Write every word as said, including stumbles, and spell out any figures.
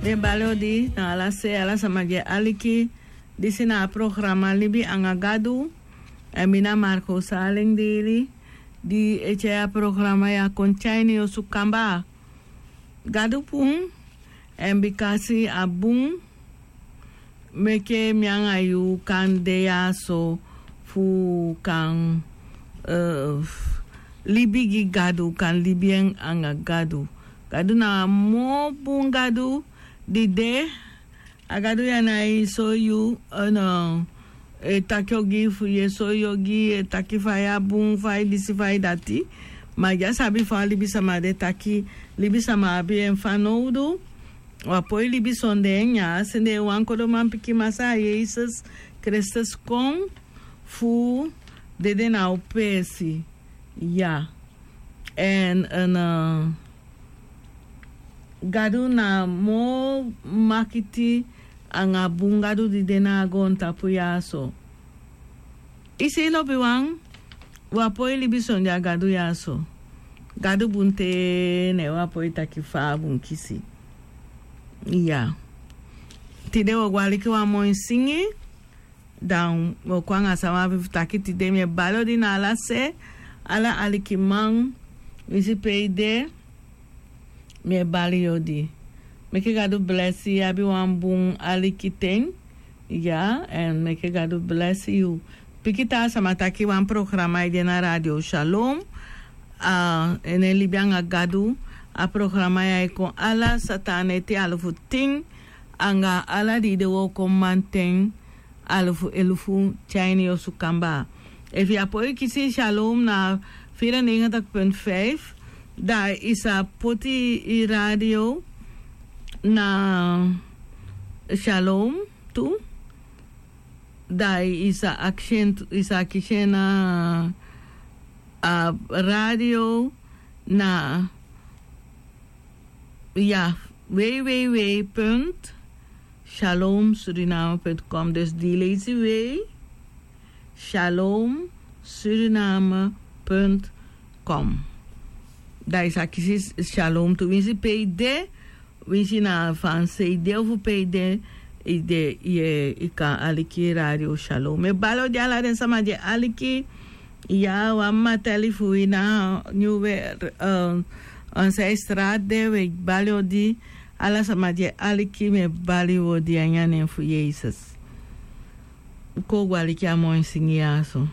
Mi e bali odi na ala se, ala sama di e aliki. Disi na a programa Libi anga Gadu. Èn mi na Marco Saleng Dili, di e tyai a programa ya kon tyai ini yu osu kamba. Gadu bun, èn bikasi a bun, meke mi anga yu kan de ya so fu kan, eh, libi gi Gadu, kan libi en anga Gadu. Gadu na a moo bun Gadu di de. A Gadu ya na e soi yu, eh, no, e taki ogii fu yu, e soi yu ogii, e taki fa yu a bun, fa yu disi, fa yu dati. Ma yu á sabi fa libisama de, taki libisama abi en fanowdu. Wi á poi libi sondee en. Yu á sende wan kodo manpikin, Masaa Yesus Kristus, kon fu dede na u peesi. Ya. Èn, èn, eh, Gadu na a moo makiti anga bun Gadu di de na a goontapu ya so. I si, lobiwan, wi á poi libi sondee a Gadu ya so. Gadu bun te, ne wi á poi taki fa a bun kisi. Ya. Tide wi o go aliki wan moi singi. Dan wi o kon anga san wi abi fu taki tide. Mi e bali odi na ala se, ala alikiman, winsi pe i de, mi e bali yu odi. Meke Gadu blesi yu, abi wan bun alikiten. Ya, èn meke Gadu blesi yu. Pikin taa sama taki wan programa e de na Radio Shalom. A, ene Libi anga Gadu. A programa ya e kon ala sataaneti alufu tin, anga ala dei de wooko mamanten alufu elufu tyai ini yu osu kamba. Efu yu á poi kisi Shalom na vierennegentig punt vijf, dan i sa poti i radio na Shalom tu. Dan i sa akisi en, i sa kisi en na a radio na, ya, www punt shalom suriname punt com. Dus di leisi w, shalom suriname punt com. Dan i sa kisi Shalom tu, winsi pe i de, winsi na Fanse i de ofu pe i de, i de, i e, i kan aliki Radio Shalom. Mi e bali odi ala den sama di e aliki. Ya, wan mama teli fu wi na Nieuwe, eh, Onsei Straat de, wi e bali odi ala sama di e aliki, mi e bali odi a ini a nen fu Yesus. Kon u go aliki a moi singi ya so.